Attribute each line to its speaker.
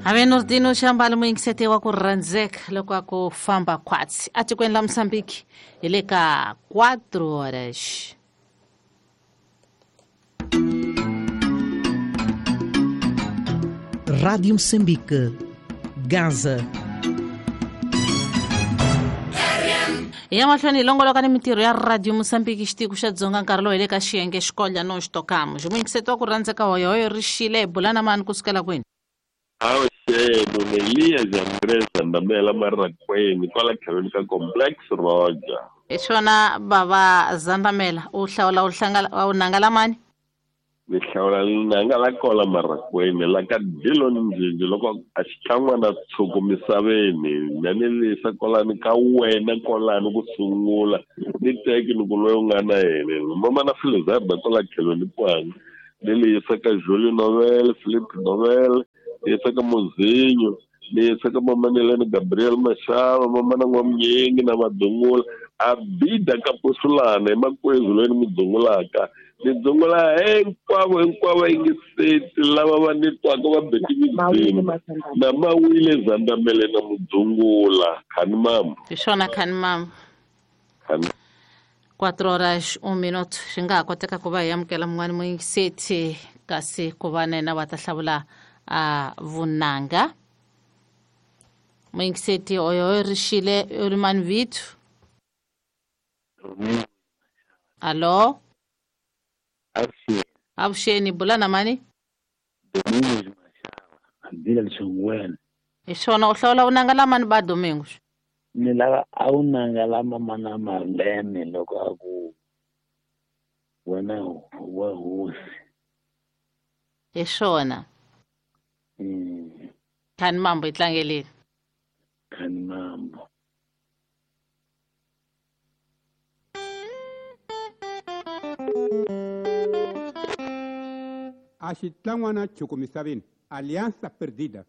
Speaker 1: Ave Nordino Xambalo muyingiseti wa ku rhandzeka loko a ku famba khwatsi atikweni la Mozambique hi le ka 4 horas.
Speaker 2: Rádio Moçambique, Gaza.
Speaker 1: Hi ya mahlweni hi longoloka ni mintirho ya Radio Moçambique xitiko xa Dzonga nkarhi lowu hi le ka xiyenge xikolya no xitokamo. Ximuyingiseti wa ku rhandzeka hoyohoyo ri xile hi bula na mani kusukela kwini?
Speaker 3: Avuxeni Elias Andres Zandamela Marakweni kwala tlhelweni ka Complex Roger.
Speaker 1: Hi swona bava Zandamela u hlawula u hlangala u nanga lamani?
Speaker 3: Ni hlawula nanga la kola Marakweni la ka Dillon Njinji loko a xitlangwana tshuku misaveni na ni lisa kolani ka wena kolani ku sungula ni teki ni ku loyi u nga na yena mama na Filizarda kwala tlhelweni kwani ni lisa ka Julie Novel Philip Novel ni yisa ka Muzinyo ni yisa ka mamanelani Gabriel Mashava mamana N'wamunyingi na Madungula Abida Kapusulana hi makwezu loyi ni mu dzungulaka ni dzungula hinkwavo hinkwavo yingiseti lava va ni twaka va beti midzimu na Mawile Zandamele na Mudzungula khani mama.
Speaker 1: Hi swona khani mama.
Speaker 3: Khani.
Speaker 1: 4 horas 1 minuto swi nga ha koteka ku va hi amukela mun'wani muyingiseti kasi ku va na yena va ta hlawula a vunanga. Muyingiseti oyo ri xile u ri mani vito? Alo?
Speaker 4: Avuxeni.
Speaker 1: Avuxeni, bula na mani?
Speaker 4: Domingos Mashava, Abila Lishongweni.
Speaker 1: Hi swona u hlawula vunanga la mani ba Domingos?
Speaker 4: Ni lava a vunanga la mama na Marlene loko a ku wena wa hosi.
Speaker 1: Hi swona. Khani mambo yi tlangeleni.
Speaker 4: Khani mambo.
Speaker 5: A xitlangwana chukumisaveni, Alianza Perdida.